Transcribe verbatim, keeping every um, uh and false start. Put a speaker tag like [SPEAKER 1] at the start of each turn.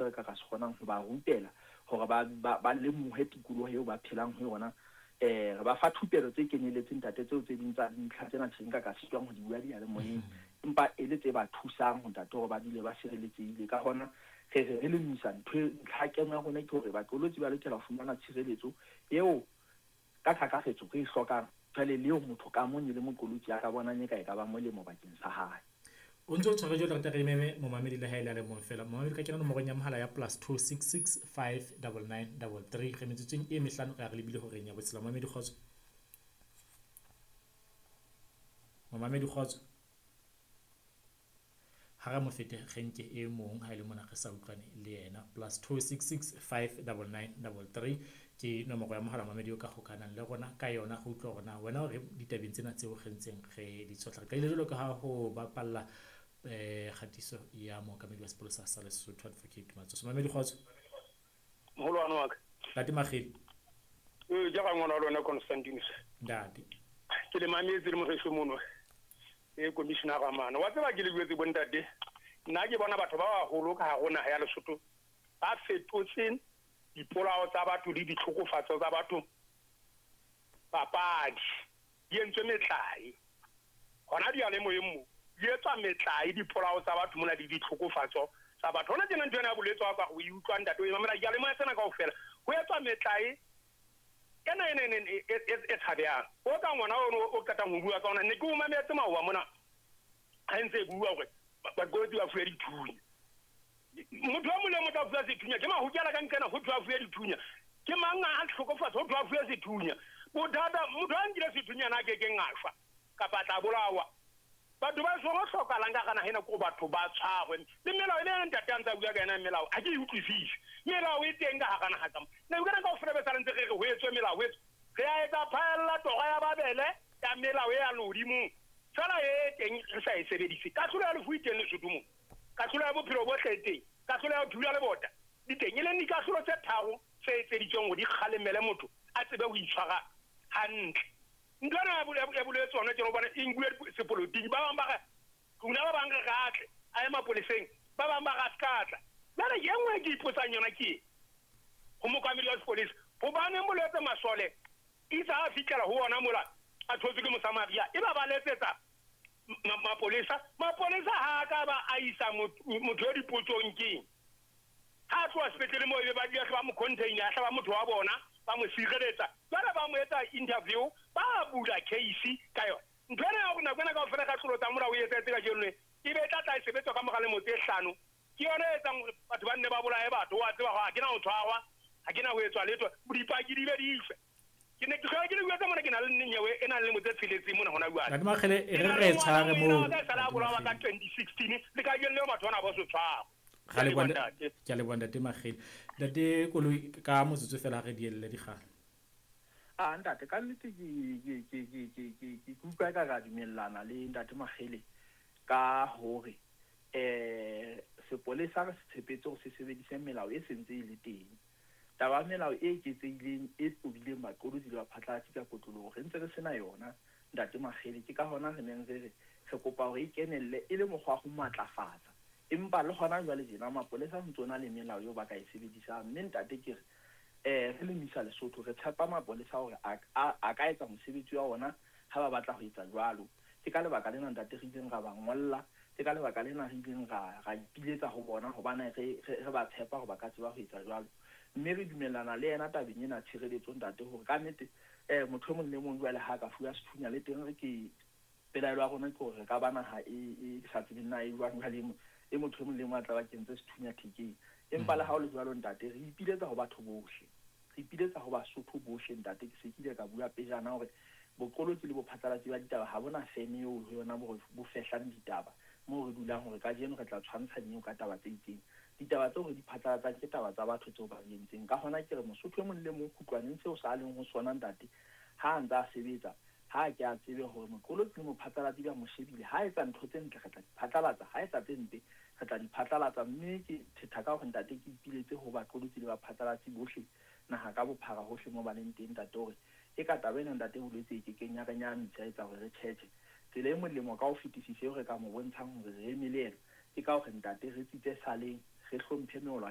[SPEAKER 1] se re ka ka se kgonang ho ba rutela hore ba ba, ba lemohe tikoloho eo ba phelang ho yona. Eh re ba fa thupelo tse kenyeletseng ntate tseo tse ding tsa dintlha tsena tje nka ka sitwang ho di bua diyalemoyeng, empa e le tse ba thusang ho ntate hore ba dule ba sireletsehile. Ka hona re re re le misa ntho ntlha keno ya rona ke hore baqolotsi ba lokela ho fumana tshireletso eo ka kakaretso re e hlokang jwale le eo motho ka mong e le moqolotsi a ka bonang e ka e ka ba molemo bakeng sa hae.
[SPEAKER 2] O ntse o tshware jwalo, re re meme momamedi le ha e le a le mong fela. Momamedi ka kena nomorong ya mohala ya plus two six six five double nine double three. Re metsotsong e mehlano re a re lebile horeng ya botshela. Momamedi kgotso. Momamedi kgotso. Ha re mo fete re nke e mong ha e le mona re sa utlwane le yena. Plus two six six five double nine double three ke nomoro ya mohala momamedi o ka hokanang le rona ka yona go utlwa hore na wena o re ditabeng tsena tseo re ntseng re di tshohla. Re qadile jwalo ka ha ho bapalla eh kgatiso ya mookamedi wa sepolesa sa Lesotho Advocate Matsoso. Momamedi kgotso.
[SPEAKER 3] Moholwane wa ka.
[SPEAKER 2] Ntate Makgele.
[SPEAKER 3] Eh ja ga ngwana wa lona Constantinus.
[SPEAKER 2] Ntate.
[SPEAKER 3] Ke le mametse le moreso mono. E commissioner Ramano. Wa tseba ke le buetse bo ntate. Nna ke bona batho ba baholo ka hare ho naha ya Lesotho ba fetotse dipolao tsa batho le ditlhokofatso tsa batho papadi. Di entswe metlae. Hona diyalemoyeng mo di etswa metlae dipolao tsa batho mona le ditlhokofatso tsa batho. Hona tjena ntho ena ya bolwetse wa ka o e utlwa ntate o e mamela diyalemoya tsena kaofela. Ho etswa metlae ena ena ena e e tshabehang. O ka ngwana ono o qetang ho bua ka ona ne ke o mametse maoba mona ha ntse e bua hore baqolotsi ba fuwe dithunya. Motho wa molemo o tla fuwa sethunya ke mahokela ka nqena ho thwe a fuwe dithunya. Ke mang a hlokofatsa ho thwe a fuwe sethunya. Bothata motho a nkile sethunya na ke keng a shwa kapa tla bolawa. Batho ba songo hlokahalang ka hara naha ena ke batho ba tshwarwe. Le melao e le ntate a ntse a bua ka yona melao ha ke e utlwisise. Melao e teng ka hara naha ka mo. Ne o kana kaofela be sa ntse re re ho etswe melao ho etswe. Re a etsa phaella tora ya Babele ya melao e ya lehodimong. Fela e teng re sa e sebedise. Kahlolo ya lefu e teng Lesotho mo. Kahlolo ya bophelo bohle e teng. Kahlolo ya ho thula lebota di teng. E leng dikahlolo tse tharo tse etseditsweng hore di kgalemele motho a tsebe ho itshwara hantle. Ntho ena ya bolwetse hona tjena hobane e nkuwe sepolotiki. Ba bang ba re rona ba bang re ratle a ye mapoleseng, ba bang ba re a ska tla. Jwale e nngwe e ke ipotsang yona ke e ho mookamedi wa sepolesa, hobaneng bolwetse masole itse ha a fihlela ho ona mola a thotswe ke Mosamaria e ba ba letsetsa mapolesa. Mapolesa ha a ka ba a isa motho yo dipotsong keng? Ha a tloha sepetlele moo ebe ba dula ba mo container, a hlaba motho wa bona ba mo sireletsa. Jwale ba mo etsa interview, ba bula case ka yona. Ntho ena ya hore nako ena kaofela ka tlolo tsa molao e etsahetse kajeno e be e tla tla e sebetswa ka mora lemo tse hlano. Ke yona e etsang hore batho ba nne ba bolaye batho. Wa tseba hore ha ke na ho tshwarwa, ha ke na ho etswa letho, dipaki di be di shwe. Ke ne ke hlola ke le bua tsa mona ke na le nyewe e nang le lemo tse tsheletseng mona hona jwale.
[SPEAKER 2] Ntate Makgele e re re tshware moo.
[SPEAKER 3] Ke sala bolawa ka twenty sixteen le kajeno leo batho bana ba so tshwarwa.
[SPEAKER 2] Ga le bona ke a leboha ntate Makgele. Ntate Koloi ka motsotso fela ha re dielle dikgang.
[SPEAKER 1] Ah ntate ka nnete ke ke ke ke ke ke ke utlwa ka ra dumellana le ntate Makgele ka hore eh sepolesa re se tshepetse hore se sebedise melao e sentse e le teng. Taba ya melao e eketsehileng e tobileng baqolotsi le baphatlalatsi ka kotloloho re ntse re sena yona ntate Makgele. Ke ka hona re neng re re re kopa hore e kenelle e le mokgwa wa ho matlafatsa. Empa le hona jwale tjena mapolesa a ntse na le melao eo ba ka e sebedisang. Mme ntate ke re eh re le Misa Lesotho re tshepa mapolesa hore a a ka etsa mosebetsi wa ona ha ba batla ho etsa jwalo. Ke ka lebaka lena ntate re ileng ra ba ngolla, ke ka lebaka lena re ileng ra ra ipiletsa ho bona hobane re re ba tshepa hore ba ka tseba ho etsa jwalo. Mme re dumellana le yena tabeng ena tshireletso ntate hore ka nnete eh motho e mong le mong jwale ha ka fuwa sethunya le teng re ke pelaelo ya rona ke hore re ka ba naha e e sa tsebeng na e jwang jwale e motho e mong le mong a tla ba kentse sethunya thekeng. Empa le ha o le jwalo ntate re ipiletsa ho batho bohle, re ipiletsa ho Basotho bohle ntate. Ke se ke ile ka bua pejana hore boqolotsi le bophatlalatsi ba ditaba ha bona feme eo ho yona bo bo fehlang ditaba moo re dulang hore kajeno re tla tshwantsha nnyeo ka taba tse itseng. Ditaba tseo re di phatlalatsang ke taba tsa batho tseo ba di entseng. Ka hona ke re Mosotho e mong le mong kgutlwaneng seo sa leng ho sona ntate ha a ntse a sebetsa ha ke a tsebe hore moqolotsi le mophatlalatsi ba mo shebile. Ha etsa ntho tse ntle re tla di phatlalatsa, ha etsa tse mpe re tla di phatlalatsa. Mme ke thetha ka hore ntate ke ipiletse ho baqolotsi le baphatlalatsi bohle naha ka bophara hohle moo ba leng teng ntate hore e ka taba ena ntate bolwetse e ke keng ya re nyahamisa etsa hore re tjhetjhe. Tsela e molemo ka ho fetisisa eo re ka mo bontshang hore re eme le yena ke ka hore ntate re tsitse saleng, re hlomphe meolwane.